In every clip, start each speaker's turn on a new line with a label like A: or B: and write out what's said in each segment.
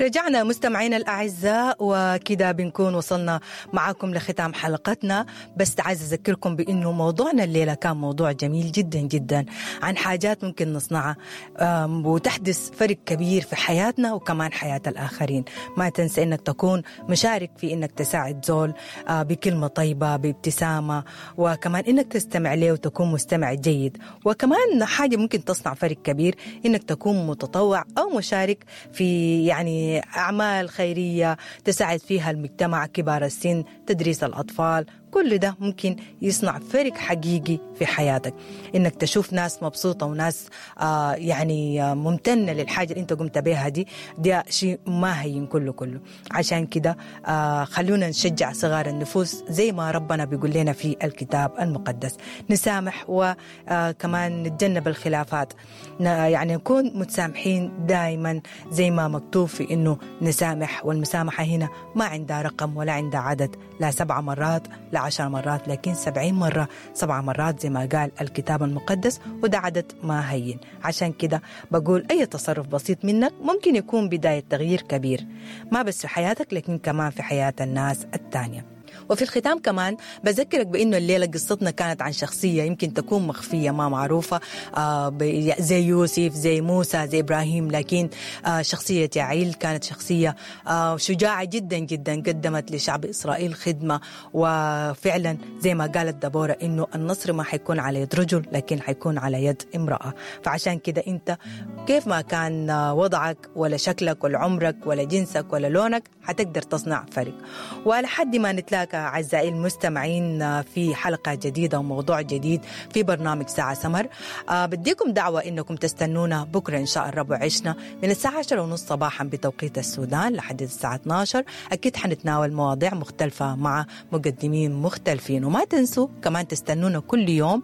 A: رجعنا مستمعينا الأعزاء، وكده بنكون وصلنا معاكم لختام حلقتنا. بس عايز أذكركم بأنه موضوعنا الليلة كان موضوع جميل جدا جدا عن حاجات ممكن نصنعها وتحدث فرق كبير في حياتنا وكمان حياة الآخرين. ما تنسى أنك تكون مشارك في أنك تساعد زول بكلمة طيبة، بابتسامة، وكمان أنك تستمع له وتكون مستمع جيد. وكمان حاجة ممكن تصنع فرق كبير أنك تكون متطوع أو مشارك في يعني أعمال خيرية تساعد فيها المجتمع، كبار السن، تدريس الأطفال. كل ده ممكن يصنع فرق حقيقي في حياتك. إنك تشوف ناس مبسوطة وناس يعني ممتنة للحاجة اللي أنت قمت بها دي شيء ما هين كله كله. عشان كده خلونا نشجع صغار النفوس زي ما ربنا بيقول لنا في الكتاب المقدس، نسامح وكمان نتجنب الخلافات، يعني نكون متسامحين دائما زي ما مكتوب في إنه نسامح. والمسامحة هنا ما عندها رقم ولا عندها عدد، لا 7 مرات لا 10 مرات، لكن 70 مرة 7 مرات زي ما قال الكتاب المقدس، وده عدد ما هين. عشان كده بقول أي تصرف بسيط منك ممكن يكون بداية تغيير كبير، ما بس في حياتك لكن كمان في حياة الناس التانية. وفي الختام كمان بذكرك بأنه الليلة قصتنا كانت عن شخصية يمكن تكون مخفية ما معروفة، زي يوسف، زي موسى، زي إبراهيم، لكن شخصية يعيل كانت شخصية شجاعة جدا جدا، قدمت لشعب إسرائيل خدمة. وفعلا زي ما قالت دبورة إنه النصر ما حيكون على يد رجل لكن حيكون على يد امرأة. فعشان كده أنت كيف ما كان وضعك ولا شكلك ولا عمرك ولا جنسك ولا لونك حتقدر تصنع فرق. ولحد ما نتلاقى أعزائي المستمعين في حلقة جديدة وموضوع جديد في برنامج ساعة سمر، بديكم دعوة إنكم تستنونا بكرة إن شاء الرب وعشنا من الساعة 10:30 صباحا بتوقيت السودان لحد الساعة 12. أكيد حنتناول مواضيع مختلفة مع مقدمين مختلفين. وما تنسوا كمان تستنونا كل يوم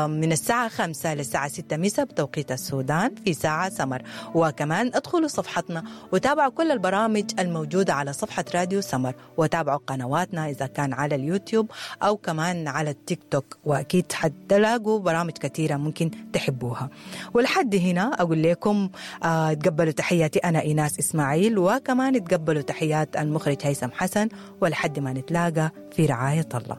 A: من الساعة 5 للساعة 6 مساء بتوقيت السودان في ساعة سمر. وكمان ادخلوا صفحتنا وتابعوا كل البرامج الموجودة على صفحة راديو سمر، وتابعوا قنواتنا إذا كان على اليوتيوب أو كمان على التيك توك، وأكيد حتلاقوا برامج كثيرة ممكن تحبوها. ولحد هنا أقول لكم تقبلوا تحياتي أنا إيناس إسماعيل، وكمان تقبلوا تحيات المخرج هيثم حسن، ولحد ما نتلاقى في رعاية الله.